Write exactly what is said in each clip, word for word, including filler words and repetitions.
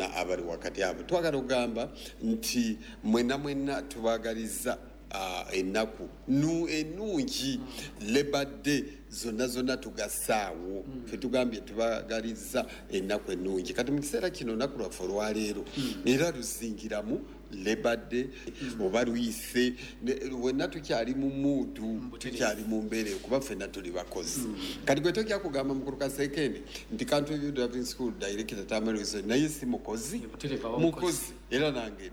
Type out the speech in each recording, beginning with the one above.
bonna abali wakati abo. Twagala okugamba nti mwenna mwenna tubaagaliza uh, ennaku nu ennungi, Labor Day zonna zonna tugasaawo. mm. Fe tugambye tubagaliza ennaku ennungi. Kati mu kiseera kino olunaku lwaffe olwaleero era luzingiramu Labor Day oba luyise. Wenna tukyali mu mood, tukyali mu mbeera kuba ffenna tuli bakozi. Kati gwe tojja kugamba mukulu Kasekende nti Country View Driving School director Tamale Wilson naye si mukozi? Mukozi era nange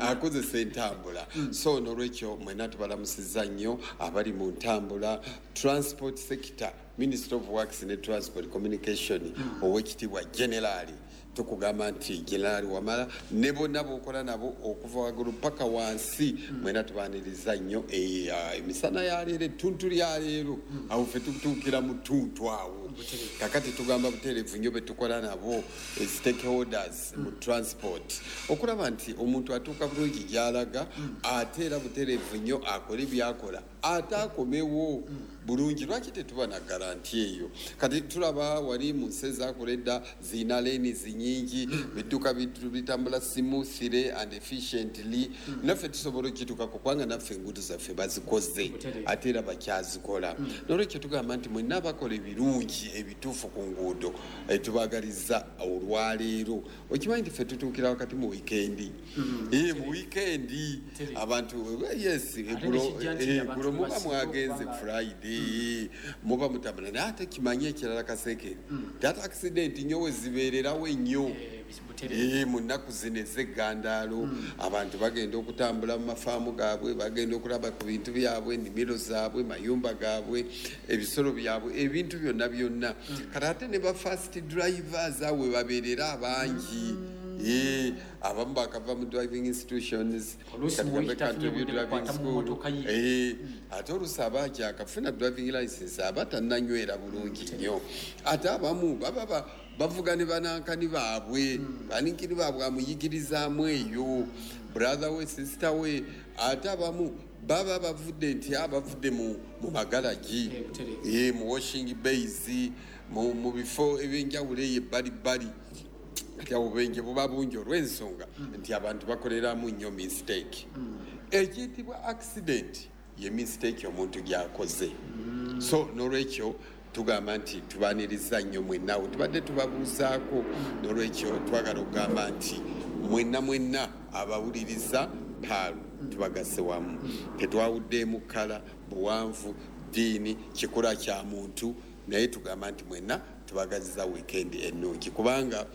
akozesa entambula. So nolwekyo mwenna tubalamusizza nnyo abali mu ntambula, transport sector, Minister of Works ne Transport Communication, owekitiibwa Generali. Tukugamba nti Generali Wamala ne bonna b'okola nabo okuva waggulu paka wansi, mwena tubaniriza nnyo emisana ya leero, ettuntu lya leero. Awo ffe tutuukira mu ttuntu awo. Kakati tugamba butereevu nnyo be tukola nabo, stakeholders mu transport, okulaba nti omuntu atuuka bulungi gy'alaga, ate era butereevu nnyo akole byakola ate akomewo bulungi. Lwaki tetuba na guarantee eyo? Kati tulaba wali mu nsi ezakola edda ziyina lanes nyingi, bidduka bitambula smoothly and efficiently. Naffe tusobola okituukako kubanga naffe enguudo zaffe bazikoze ate era bakyazikola. Nolwekyo tugamba nti mwenna abakola ebirungi ebituufu ku nguudo, tubagaliza olwaleero. Okimanyi nti ffe tutuukira wakati mu wiikendi, mu wiikendi abantu, yes, eggulo muba mwagenze Friday, muba mutambula. Naye ate kimanye ekirala, Kasekere, ate accident nnyo we zibeererawo ennyo mu nnaku zino ez'eggandaalo. Abantu bagenda okutambula mu mafaamu gaabwe, bagenda okulaba ku bintu byabwe, ennimiro zaabwe, mayumba gaabwe, ebisolo byabwe, ebintu byonna byonna. Kati ate ne ba first drivers awe babeerera abangi. Abamu bakava mu driving institutions, ate oluusi aba akyakafuna driving license, aba tannanywera bulungi nnyo. Ate abamu baba bavuga ne banankani baabwe, baninkini baabwe amuyigirizaamu eyo, brother we, sister we. Ate abamu baba bavudde nti abavudde mu magalagi, mu washing bays, mu bifo ebyenjawulo eyo ebbalibbali. Kati obubenje buba bungi olw'ensonga nti abantu bakoleramu nnyo mistake. Ekiyitibwa accident ye mistake omuntu gy'akoze. So nolwekyo tugamba nti tubaniriza nnyo mwennawo tubadde tubabuuzaako. Nolwekyo twagala okugamba nti mwenna mwenna abawuliriza Paalu tubagasse wamu, tetwawuddeemu kkala, buwanvu, ddiini, kikula kya muntu, naye tugamba nti mwenna tubagaziza wiikendi ennungi kubanga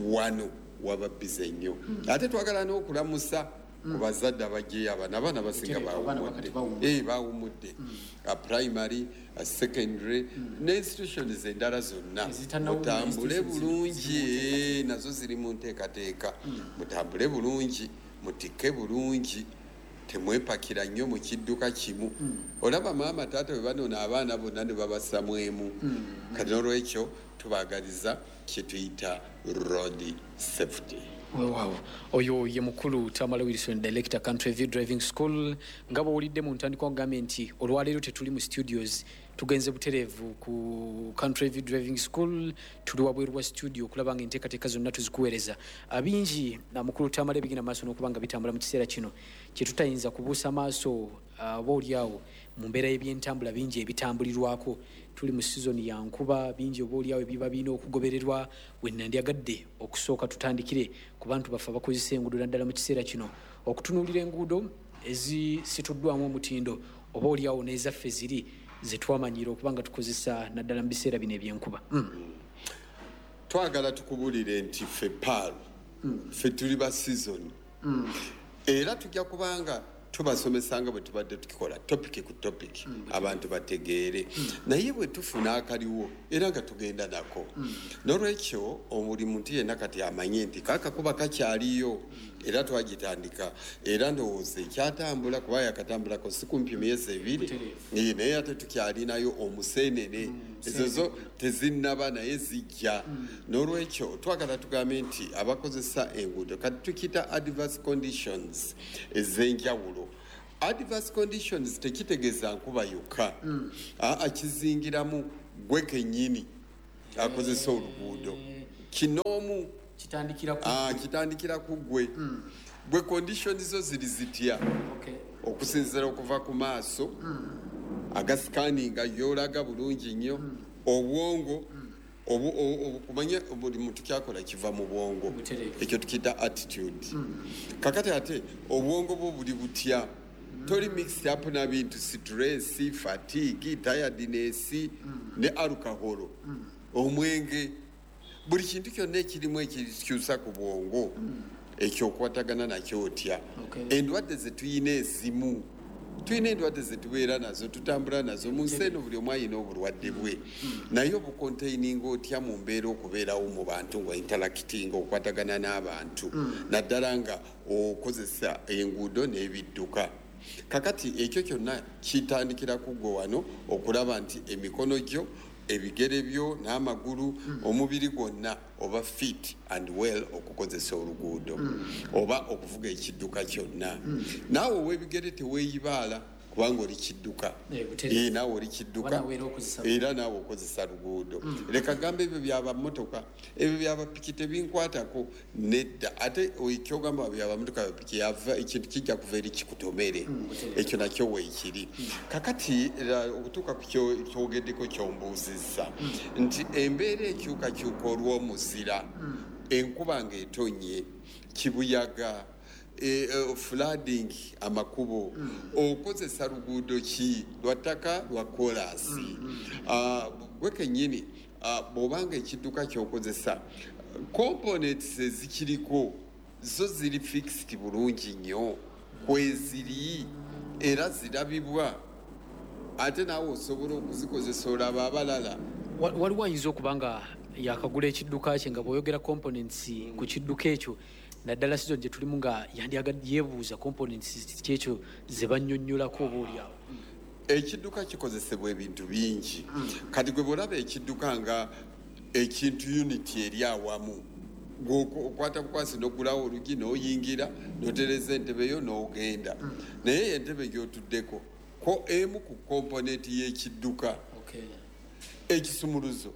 wano waba busy nnyo. Ate twagala n'okulamusa ku bazadde abajjeyo abaana. Abaana basinga bawumudde, bawumudde, primary, secondary ne institutions endala zonna. Mutambule bulungi, nazo ziri mu nteekateeka. Mutambule bulungi, mutikke bulungi, temwepakira nnyo mu kidduka kimu. Olaba maama taata bwe banona abaana bonna ne babassamu emu. Kati n'olwekyo tubaagaliza kye tuyita road safety. Weewaawo, oyo ye mukulu Tamale Wilson, director, Country View Driving School. Nga bw'owulidde mu ntandikwa, nkugambye nti olwaleero tetuli mu studios, tugenze butereevu ku Country View Driving School. Tuli wabweru wa studio okulaba nga enteekateeka zonna tuzikuweereza. Bingi na mukulu Tamale bigenda maaso n'okuba nga bitambula mu kiseera kino kye tutayinza kubuusa maaso oba oliawo mu mbeera y'ebyentambula, bingi ebitambulirwako. Tuli mu sizoni ya nkuba, bingi oba oliawo ebiba birina okugobererwa. We nandyagadde okusooka tutandikire ku bantu baffe abakozesa enguudo, naddala mu kiseera kino okutunuulira enguudo ezisituddwamu omutindo oba oliawo n'ezaffe ziri zetwamanyira okuba nga tukozesa, naddala mu biseera bino ebyenkuba. mm. Twagala tukubulire nti ffe Paalu, ffe tuli ba season mm. era tujja kubanga tubasomesa nga bwe tubadde tukikola, topic ku topic, abantu bategeere. Naye bwe tufuna akaliwo era nga tugenda nako. Nolwekyo buli muntu yenna kati amanye nti kakakuba kakyaliyo era twagitandika, era ndowooza ekyatambula kuba yakatambulako si kumpi myezi ebiri, naye ate tukyalinayo omusenene, ezo zo tezinnaba naye zijja. N'olwekyo twagala tugambe nti abakozesa enguudo, kati tukiyita adverse conditions ez'enjawulo. Adverse conditions tekitegeeza nkuba yokka, aa, kizingiramu gwe kennyini akozesa oluguudo. Kinoomu. Kitandikira ku Ah, kitandikira ku ggwe. Gwe condition zo ziri zitya? Okay. Okusinziira okuva ku maaso agasikaninga yolaga bulungi nnyo, obwongo obu- obu- obu- kumanya buli muntu kyakola kiva mu bwongo. Butereevu. Ekyo tukiyita attitude. Kakati ate obwongo bwo buli butya? Toli mixed up na bintu stress, fatigue, tiredness ne alcohol, omwenge, buli kintu kyonna ekirimu ekikyusa ku bwongo, ekyo okwatagana nakyo otya? Okay. Endwadde zetuyina ezimu, tulina endwadde zetubeera nazo, tutambula nazo mu nsi eno. Buli omu ayina obulwadde bwe, naye obucontaininga otya mu mbeera okubeerawo mu bantu nga interacting, okwatagana n'abantu, naddala nga okozesa enguudo n'ebidduka? Kakati ekyo kyonna kitandikira ku ggwe wano okulaba nti emikono gyo, ebigere byo n'amagulu, omubiri gwonna oba fit and well okukozesa oluguudo oba okuvuga ekidduka kyonna. Naawe ow'ebigere teweeyibaala kubanga oli kidduka. Eh, butereevu. Eh, naawe oli kidduka. Oba naawe era okozesa. Era naawe okozesa luguudo. Leka gamba ebyo byaba motoka, ebyo byaba piki tebinkwatako. Nedda, ate ekyogamba byaba motoka, piki yava, ekintu kijja kuva eri kikutomere. Butereevu. Ekyo nakyo weekiri. Kakati era okutuuka ku kyo- kyogeddeko, kyombuuzizza nti embeera ekyukakyuka olw'omuzira, enkuba ng'etonye, kibuyaga, e, e, flooding, amakubo, okozesa luguudo ki? Lwa ttaka, lwa koolaasi? Ah, gwe kennyini, ah, bw'obanga ekidduka ky'okozesa, components ezikiriko zo ziri fixed bulungi nnyo kweziri era zirabibwa, ate naawe osobola okuzikozesa olaba abalala. Wa- waliwo ayinza okuba nga yakagula ekidduka kye, nga bw'oyogera components ku kidduka ekyo, naddala season gye tulimu, nga yandyagadde yeebuuza components kyekyo ze bannyonnyolako oba oliawo. Ekidduka kikozesebwa ebintu bingi. Kati gwe bwolaba ekidduka nga ekintu unit eri awamu, gwe okwata bukwasi n'oggulawo olugi n'oyingira n'otereza entebe yo n'ogenda, naye entebe gy'otuddeko ko emu ku component y'ekidduka. Okay. Ekisumuluzo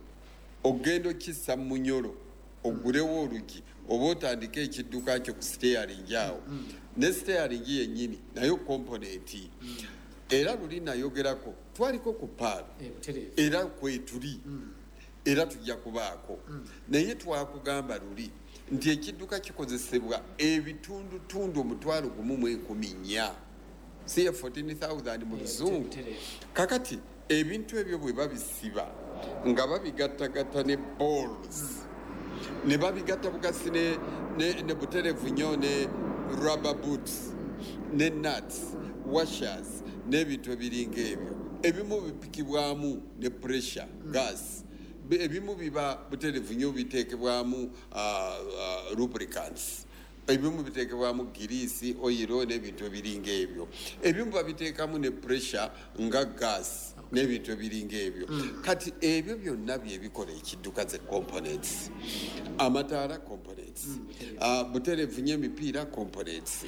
ogenda okissa mu munyolo oggulewo olugi oba otandike ekidduka kyo ku steering awo, ne steering yennyini nayo component. Era luli nayogerako, twaliko ku paalo. Eh, butereevu. Era kwetuli, era tujja kubaako, naye twakugamba luli nti ekidduka kikozesebwa ebitundutundu omutwalo gumu mu enkumi nnya, siye fourteen thousand mu luzungu. Butereevu. Kakati ebintu ebyo bwe babisiba nga babigattagatta ne bolts, ne babigatta bugasi ne, ne, ne buterevu nnyo ne rubber boots ne nuts, washers n'ebintu ebiringa ebyo. Ebimu bipikibwamu ne pressure gas. Bi- ebimu biba buterevu nnyo biteekebwamu uh, uh, lubricants, ebimu biteekebwamu giriisi, oyiro n'ebintu ebiringa ebyo. Ebimu babiteekamu ne pressure nga gas n'ebintu ebiringa ebyo. Kati ebyo byonna byebikola ekidduka, ze components. Amataala components, Ah, buterevu nnyo emipiira components,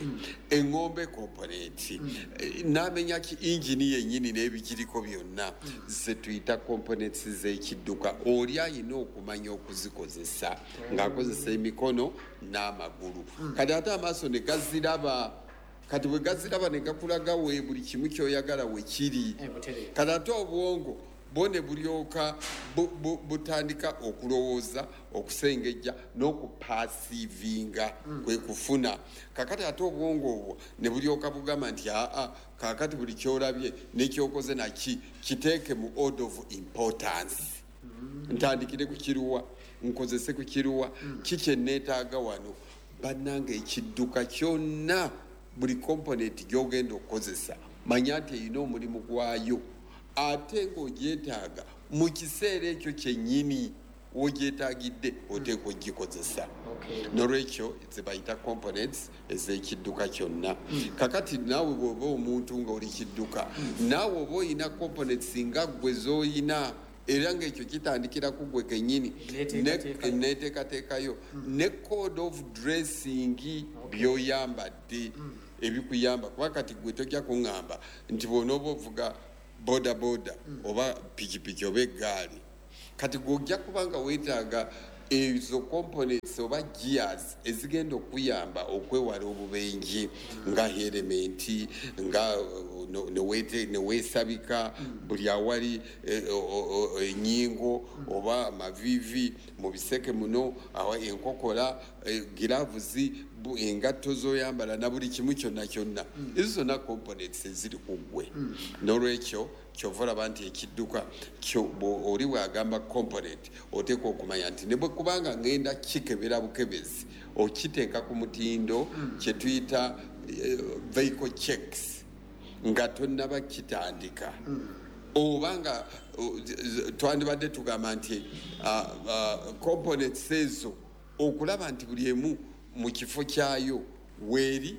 eŋŋombe component. Eh, n'amenya ki engine yennyini n'ebigiriko byonna ze tuyita components z'ekidduka. Oli ayina okumanya okuzikozesa ng'akozesa emikono n'amagulu. Kati ate amaaso ne gaziraba. Kati bwe gaziraba ne gakulaga we buli kimu kyoyagala we kiri. Eh, butereevu. Kati ate obwongo bwo ne bulyoka bu- bu- butandika okulowooza, okusengejja n'okuperceivinga, kwe kufuna. Kakati ate obwongo obwo ne bulyoka bugamba nti aa, kakati buli kyolabye nekyokoze naki kiteeke mu order of importance, ntandikire ku kiruwa, nkozese ku kiruwa, kiki enneetaaga wano. Bannanga, ekidduka kyonna buli component gy'ogenda okukozesa, manya nti erina omulimu gwayo, ate ng'ogyetaaga mu kiseera ekyo kyennyini wogyetaagidde, oteeka ogikozesa. Okay. Nolwekyo zebayita components ez'ekidduka kyonna. Kakati naawe bw'oba omuntu nga oli kidduka, naawe oba oyina components nga ggwe z'oyina, era ng'ekyo kitandikira ku ggwe kennyini. Neteekateekayo. Neteekateekayo ne code of dressing, by'oyambadde ebikuyamba, kuba kati gwe tojja kuŋŋamba nti bw'onooba ovuga boda boda oba pikipiki oba eggaali, kati gwe ojja kuba nga weetaaga Ezo components oba gears ezigenda okuyamba okwewala obubenje, nga helmet, nga uh, no- newete- neweesabika buli awali eh, o- o- o- ennyingo oba amaviivi mu biseke muno, awa enkokola, eh, gloves, bu- engatto zoyambala na buli kimu kyonna kyonna. Ezo zonna components eziri ku ggwe. N'olwekyo kyova olaba nti ekidduka kyo bwo- oli bw'agamba component, oteekwa okumanya nti ne bwe kubanga ngenda kikebera bukebezi, okiteeka ku mutindo kye tuyita eh, vehicle checks nga tonnaba kitandika, oba nga o, z- z- twandibadde tugamba nti ah, ah, components ezo okulaba nti buli emu mu kifo kyayo weeri,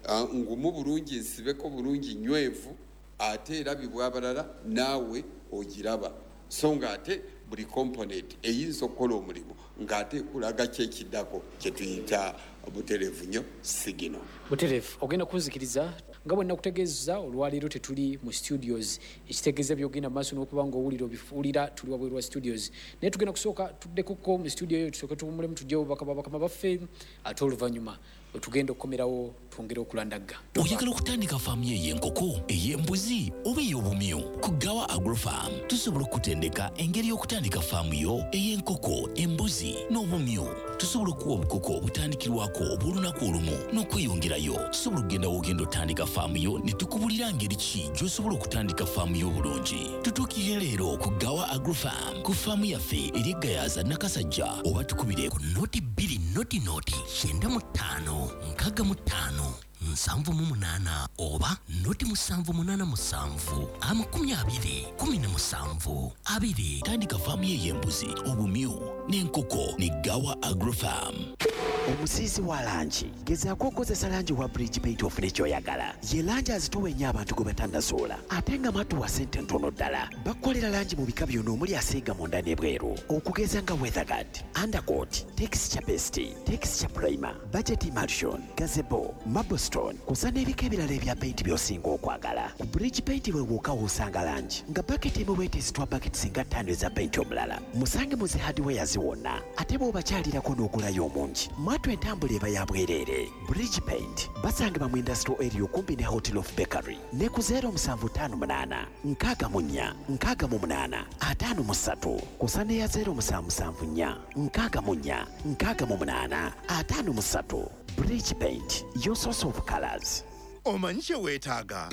ah, ngumu bulungi, nsibeko bulungi, nywevu, ate erabibwa abalala naawe ogiraba. So nga ate buli component eyinza okukola omulimu ng'ate ekulaga kyekiddako kyetuyita butereevu nnyo signal. Butereevu. Ogenda kunzikiriza nga bwe nakutegeeza, olwaleero tetuli mu studios, ekitegeeza byogenda maaso n'okuba nga owulira obifuulira tuli wabweru wa studios. Naye tugenda kusooka tuddekoko mu studio eyo, tusooke tuwummulemu, tugyewo obubaka bwa bakama baffe, ate oluvannyuma wetugenda okukomerawo twongere okulandagga. Oyagala okutandika faamu yo ey'enkoko, ey'embuzi oba ey'obumyu? Ku Gawa Agrofarm tusobola okutendeka engeri y'okutandika faamu yo ey'enkoko, embuzi n'obumyu. Tusobola okuwa obukoko obutandikirwako obw'olunaku olumu n'okweyongerayo. Tusobola okugenda w'ogenda otandika faamu yo ne tukubulira ngeri ki gy'osobola okutandika faamu yo obulungi. Tutuukirire leero ku Gawa Agrofarm ku faamu yaffe eri Egayaza, Nakasajja, oba tukubire ku noti bbiri noti noti kyenda mu ttaano nkaaga mu ttaano nsanvu mu munaana oba noti musanvu munaana musanvu amakumi abiri kumi na musanvu abiri. Tandika faamu yo ey'embuzi, obumyu n'enkoko ne Gawa Agrofarm. Omusiizi wa langi, gezaako okukozesa langi wa Bridge Paint ofune kyoyagala. Ye langi azitowa ennyo abantu gwe batannazuula, ate nga matuwa sente ntono ddala. Bakukolera langi mu bika byonna omuli asiiga munda n'ebweru, okugeza nga weatherguard, undercoat, texture paste, texture primer, budget emulsion, gazebo, marblestone, kusa n'ebika ebirala ebya paint by'osinga okwagala. Ku Bridge Paint we wokka w'osanga langi nga baketi emu bwetezitwa baketi singa ttaano eza paint omulala. Musange mu zi hardwares wonna, ate bw'obakyalirako n'ogulayo omungi, mwatu entambula eba ya bwereere. Bridge Paint basangibwa mu industrial area okumpi ne Hotel of Bakery ne ku zero musanvu ttaano munaana nkaaga mu nnya nkaaga mu munaana ataano mu ssatu, kusa n'eya zero musanvu musanvu nnya nkaaga mu nnya nkaaga mu munaana ataano mu ssatu. Bridge Paint, your source of colors. Omanyi kye weetaaga?